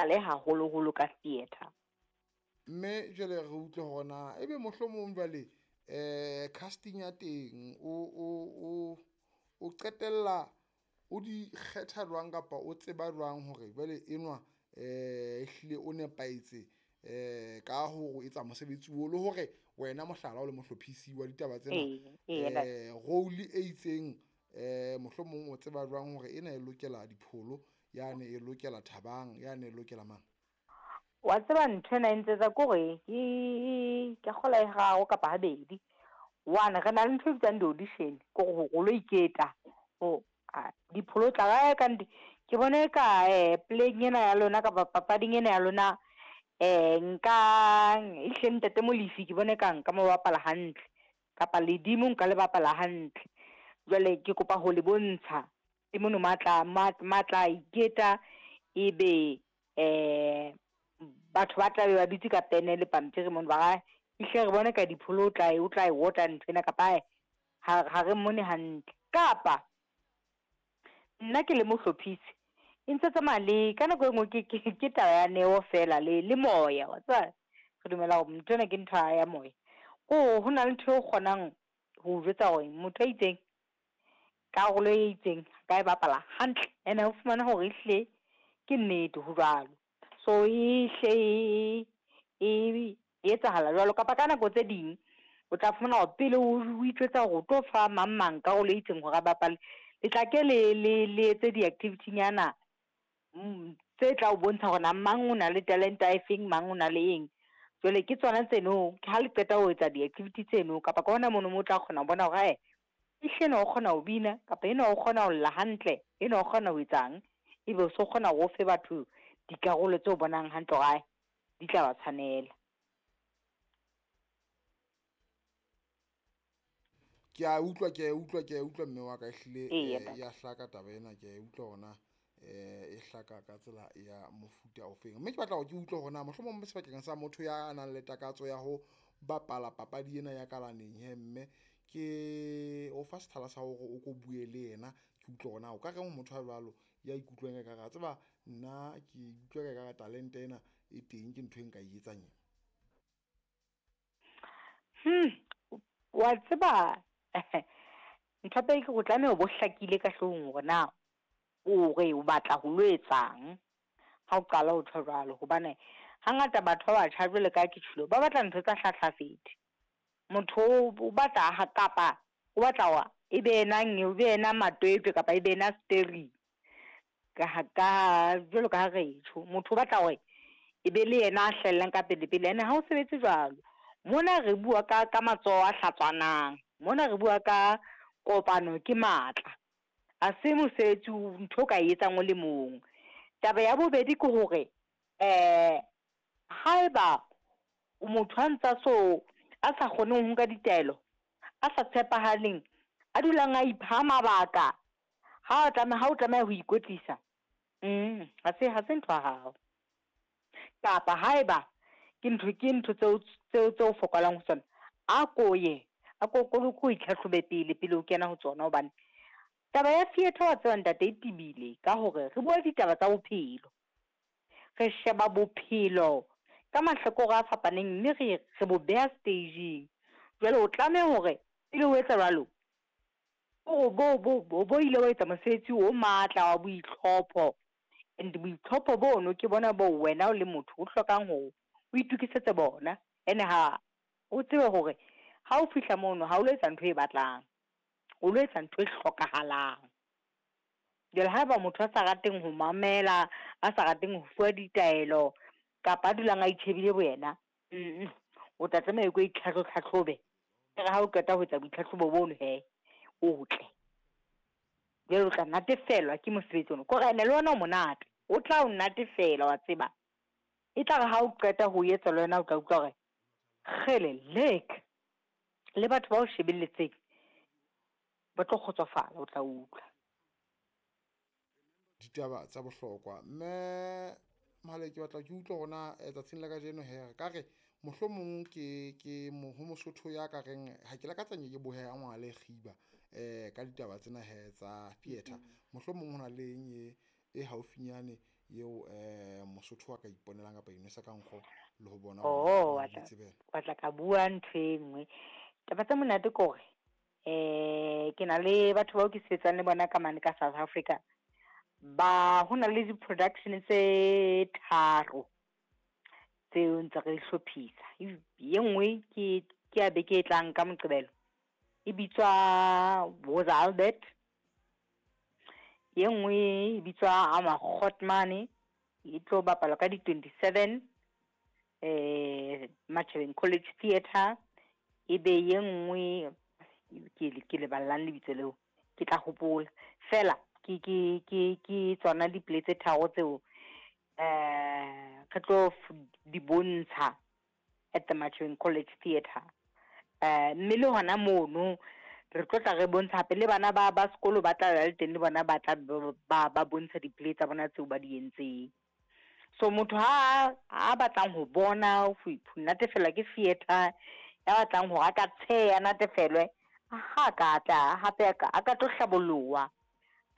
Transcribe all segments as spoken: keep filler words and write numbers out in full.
bapale haholoholo ka theatre. Mme jwale re utlwe hore na ebe mohlomong jwale eh casting ya teng o o o o qetella o di kgetha jwang kapa o tseba jwang hore jwale enwa eh ehlile o nepahetse eh ka ho etsa mosebetsi o le hore wena mohlala o le mohlophisi wa ditaba tsena Ee, ee eh role e itseng eh mohlomong o tseba jwang hore ena e lokela Dipholo, yane e lokela Thabang, yane e lokela mang? Wa tseba ntho ena e ntsetsa ke hore ke ke kgola e hararo kapa habedi. One, re na le ntho e bitswang di-audition, ke hore o lo iketa ho Dipholo tla ka kannete ke bone ka eh playing ena ya lona kapa papading ena ya lona eh nka ehlile ntate Molefi ke bone ka nka mo bapala hantle kapa ledimo nka le bapala hantle. Jwale ke kopa ho le bontsha ke mono matla matla iketa ebe eh batho ba tlabe ba dutse ka pene le pampiri mono ba ehlile re bone ka Dipholo o tla o tla e ota nthwena kapa ha ha re mmone hantle. Kapa nna ke le mohlophisi e ntse tsamaya le ka nako e nngwe ke ke ke taba ya neo fela le le moya wa tseba re dumela hore ntho ena ke ntho ya moya. Ko ho na le ntho e kgonang ho jwetsa hore motho a itseng karolo e itseng ka e bapala hantle, ene o fumana hore ehlile ke nnete ho jwalo. So e hle e etsahala jwalo kapa ka nako tse ding o tla fumana hore pele o itjwetsa hore o tlo fa mang mang karolo e itseng hore a bapale, le tla ke le le le etse di-activity nyana tse tla o bontsha hore na mang o na le talent-a e feng, mang o na le eng. Jwale ke tsona tseno ha le qeta ho etsa di-activity tseno kapa ka hona mono mo o tla kgona ho bona hore ae ehlile enwa o kgona ho bina kapa enwa o kgona ho lla hantle, enwa o kgona ho etsang, ebe o so kgona hore o fe batho dikarolo tseo bonang hantle hore ae di tla ba tshwanela. Ke a utlwa, ke a utlwa, ke a utlwa mme wa ka ehlile Eya eh ya hlaka taba ena, ke a utlwa hore na eh e hlaka ka tsela ya mofuta ofeng. Mme ke batla hore ke utlwe hore na mohlomong sebakeng sa motho ya nang le takatso ya ho bapala papadi ena ya kalaneng he mme ke o fa sethala sa hore o ko bue le yena, ke utlwe hore na o ka reng ho motho a jwalo ya ikutlwang ekare a tseba nna ke utlwa ekare talente ena e teng, ke ntho e nka e etsang ena. Hmm, wa tseba ntho ya pele ke hore o tlameha o bo hlakile ka hloohong hore na o re o batla ho lo etsang ha o qala ho tjho jwalo. Hobane hangata batho ba batjha jwalo ka ha ke tjholo ba batla ntho tsa hlahlafethe. Motho o batla kapa o batla hore e be yena e be yena matwetwe kapa e be yena steering ka ka jwalo ka ha re tjho. Motho o batla hore e be le yena a hlahellang ka pele pele, ene ha o sebetse jwalo. Mona re bua ka ka matsoho a hlatswanang, mona re bua ka kopano ke matla, ha se mosebetsi ntho o ka e etsang o le mong. Taba ya bobedi ke hore eh haeba o motho a ntsa so a sa kgoneng ho nka ditaelo, a sa tshepahaleng, a dulang a ipha mabaka ha o tlameha ha o tlameha ho ikwetlisa, mm ha se ha se ntho ya hao. Kapa haeba ke ntho ke ntho tseo tseo tseo fokolang ho tsona, a ko ye a ko ko ko itlhatlhobe pele pele o kena ho tsona. Hobane taba ya theatre wa tseba ntate e tebile ka hore re bua ditaba tsa bophelo, re sheba bophelo ka mahlakore a fapaneng mme re re bo beha staging. Jwale o tlameha hore pele o etsa jwalo o bo bo bo ile wa etsa mosebetsi o matla wa boitlhopho, and boitlhopho bono ke bona bo wena o le motho o hlokang hore o itokisetse bona. Ene ha o tsebe hore ha o fihla mono ha o lo etsa ntho e batlang, o lo etsa ntho e hlokahalang. Jwale haeba motho a sa rateng ho mamela, a sa rateng ho fuwa ditaelo kapa a dulang a itjhebile bo yena, mm o tla tlameha o itlhahlobe. Ere ha o qeta ho etsa boitlhahlobo bono hee o tle, jwale o tla natefelwa ke mosebetsi ona. Kore ene le ona o monate, o tla o natefela wa tseba. E tla re ha o qeta ho etsa le wena o tla utlwa hore kgele lek le batho ba o shebelletseng ba tlo kgotsofala, o tla utlwa ditaba tsa bohlokwa. Mme Mohale ke batla ke utlwe hore na tsatsing la kajeno he re ka re mohlomong ke ke ho Mosotho ya ka reng ha ke lakatsa nke ke bohe a ngwale kgiba eh ka ditaba tsena he tsa theatre, mohlomong ho na le eng e e haufinyane eo um Mosotho a ka iponelang kapa inwesa ka nkgo le ho bona Oh, wa tla wa tla ka bua ntho e nngwe. Taba tse monate ke hore eh ke na le batho bao ke sebetsang le bona ka mane ka South Africa. Ba ho na le di-production tse tharo tseo ntse re di hlophisa. Ye nngwe ke ke ya beke e tlang ka Moqebelo, e bitswa Woza Albert. Ye nngwe e bitswa Amagotmane, e tlo bapalwa ka di twenty-seven eh Matjhabeng College Theatre. E be ye nngwe ke ke leballang lebitso leo, ke tla hopola fela ke ke ke ke tsona di-play tse tharo tseo eh re tlo di bontsha at the Matjhabeng College Theatre. Eh mme le hona mono re tlo tla re bontsha hape le bana ba ba sekolo ba tla le teng, le bona ba tla ba ba bontsha di-play tsa bona tseo ba di entseng. So motho ha a batlang ho bona ho natefelwa ke theatre, ya batlang hore a ka tsheya natefelwe, ha ka tla hape a ka a ka tlo hlaboloha.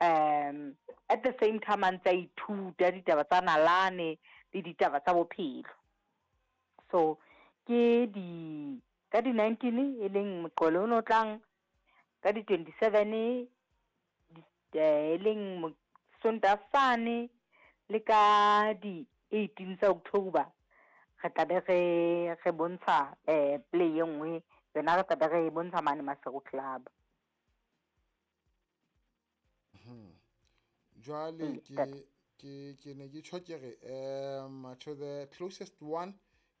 Um at the same time a ntse a ithuta ditaba tsa nalane le ditaba tsa bophelo. So ke di ka di nineteen e leng Moqebelo ono tlang, ka di twenty-seven e leng Sontaha sane, le ka di eighteen tsa October re tla be re re bontsha eh play e nngwe yona, re tla be re bontsha mane Maseru Club. Jwale ke ke ke ne ke tjho ke re um to the closest one,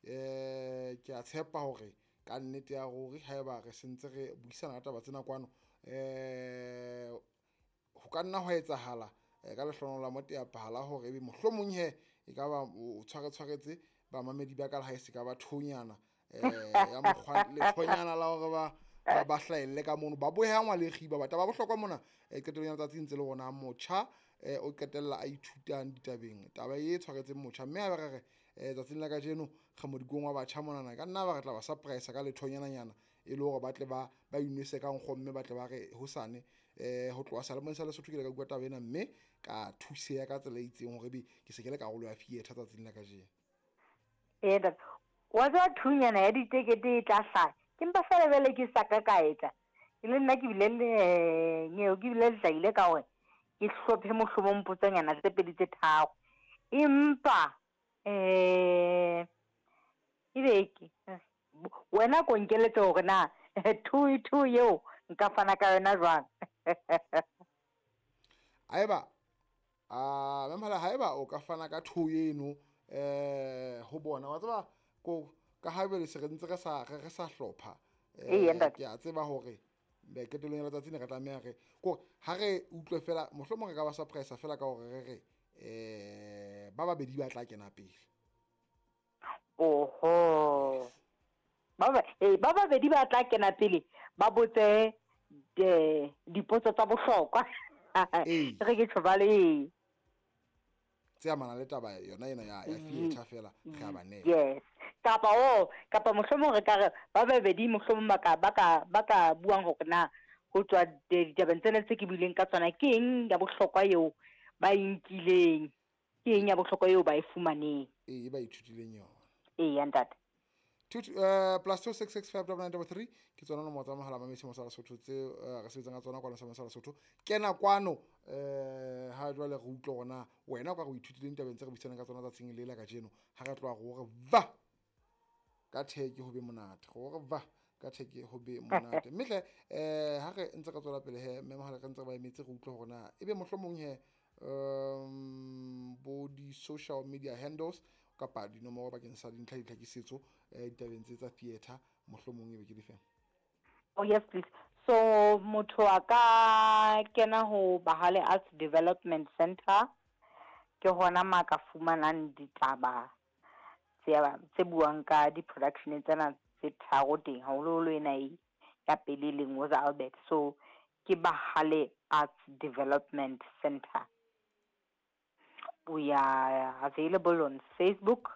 eh ke a tshepa hore ka nnete ya ruri haeba re sentse re buisana ka taba tsena kwano, eh ho ka nna ho etsahala ka lehlohonolo la moteapahala hore ebe mohlomong he e ka ba o tshware tshwaretse bamamedi ba ka le ha e se ka ba thonyana eh ya mokgwa lethonyana la hore ba ba hlahelle ka mono ba bohangwa le kgiba. Batho ba bohlokwa mona qetellong ya letsatsi ntse le rona motjha o qetella a ithutang ditabeng taba e tshwaretseng motjha, mme ha re re tsatsing la kajeno re modikong wa batjha monana, ka nna ba re tla ba surprise ka lethonyananyana e le hore ba tle ba ba inwese ka nkgo, mme ba tle ba re hosane eh ho tloha seyalemoyeng sa Lesotho ke le ka bua taba ena, mme ka thuseha ka tsela e itseng hore ebe ke se ke le karolo ya theatre tsatsing la kajeno. Ee, wa tseba thunyana ya ditekete e tla hlaha, ke mpa fela jwale ke sa ka ka etsa ke le nna ke bile le nyeo ke bile le hlahile ka hore ke hlophe mohlomong potsanyana tse pedi tse tharo, empa eh ebe ke wena ko nkeletse hore na two two eo nka fana ka yona jwang. Haeba a memhala haeba o ka fana ka two eno eh ho bona wa tseba ko ka ha bele se re ntse re sa re sa hlopha eh ke a tseba hore qetellong ya letsatsi ne re tlameha re ko ha re utlwe fela mohlomong re ka ba surprise fela ka hore re re eh ba babedi ba tla kena pele. Oho, ba ba eh ba babedi ba tla kena pele ba botse dipotso tsa bohlokwa. Re ke tjho bale tse amana le taba yona ena ya ya theatre fela re a ba neha. Yes, kapa o kapa mohlomong re ka re ba babedi mohlomong ba ka ba ka ba ka buang hore na ho tswa ditabeng tsena tse ke buileng ka tsona ke eng ya bohlokwa eo ba e nkileng, ke eng ya bohlokwa eo ba e fumaneng, ee ba ithutileng yona. Ee ntate. Two uh, plus two six six five double nine double three ke tsona nomoro tsa mohala mamedi sa Lesotho tse re sebetsang ka tsona kwano sa Lesotho. Kena kwano eh ha jwale re utlwe hore na wena o ka re o ithutileng tabeng tse re buisanang ka tsona tsatsing le la kajeno. Ha re tloha hore va ka theke ho be monate, hore va ka theke ho be monate. Mme hle eh ha re ntse re tswela pele he mme mohala re ntse re ba emetse re utlwe hore na ebe mohlomong he um bo di social media handles kapa dinomoro bakeng sa dintlha ditlhakisetso ditabeng tse tsa theatre mohlomong ebe ke difeng. Oh yes please. So motho a ka kena ho Bahale Arts Development Center, ke hona ma ka fumanang ditaba tse tse buang ka di-production tsena tse tharo teng, haholoholo ena e ya pele leng Woza Albert. So ke Bahale Arts Development Center. We are available on Facebook.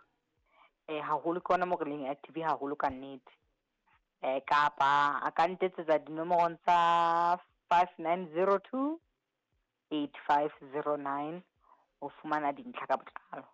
Eh haholo ke hona mo re leng active haholo ka nnete. Eh kapa a ka ntetsetsa dinomorong tsa five nine zero two eight five zero nine Ho fumana dintlha ka botlalo.